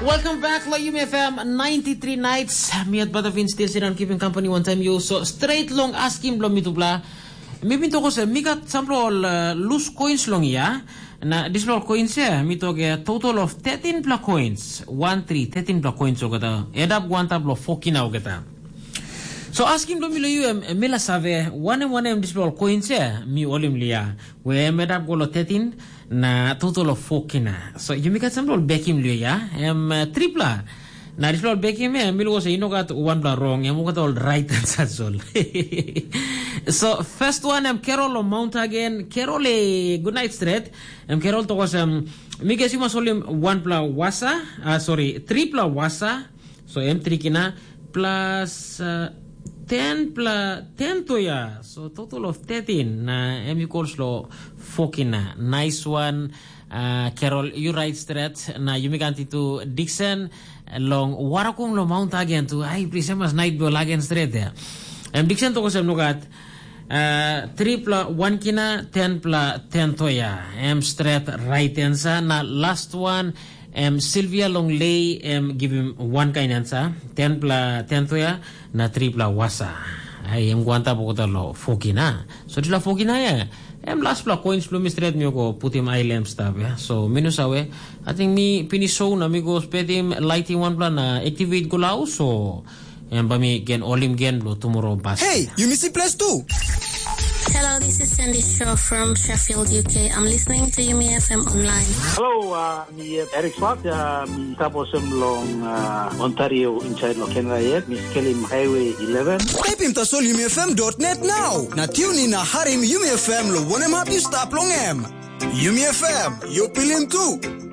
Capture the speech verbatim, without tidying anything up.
Welcome back lo Yumi F M ninety-three Nights. Mi at Batavin still sit on keeping company one time you. So straight long asking blo mitupla. Mi bin toko se mi gat sampla ol uh, loose coins long ya. Na dispela ol coins ya mi toke total of thirteen pla coins. One three, thirteen pla coins okata. Add up one tap lo four kina okata. So asking blo mi lo you em, em mi la save wanem wanem dispela ol coins ya mi olim lia. We em add up go lo thirteen na total of four kina. So yumi gat sampla ol bekim lio ya. Em uh, tripla. Na dispela ol bekim em mi luko se i no gat wanpela rong, em gat ol right answer ol. So first one em Carol o Mount again. Carol e good night straight. Em Carol tokos em mi ges you must holim wanpela wasa, uh, sorry, tripla wasa. So em trikina plus uh, ten pla ten toya. So total of thirteen na em equals lo four kina. Nice one. Uh, Carol, you right straight. Na yumi ganti tu Dixon long warakum lo mount again tu. Ai, please, em mas night ball again straight there. Em Dixon toko sem nogat. Uh, tripla one kina, ten pla ten toya. Em straight right answer. Na last one, em Sylvia long lay, em give him one kind answer. Ten pla ten toya, na tripla wasa. Ai, em guanta pokota lo four kina. So dispela four kina ya. Em last pla coins blo mi straight mi go putim ai lamp stap ya. So mi no save. I think mi finish show na mi go spetim lighting one pla na activate go lau so. Em ba mi gen olim gen blo tomorrow bas. Hey, you miss place too. Hello, this is Sandy Shaw from Sheffield, U K. I'm listening to Yumi F M online. Hello, uh, mi uh, Eric Swart, uh, mi taposem long uh, Ontario inside lo Canada yet. Mi skelim Highway eleven. Taipim tasol yumi F M dot net now. Na tune in na harim Yumi F M lo wanem hap you stap long em. Yumi F M, you pilim tu.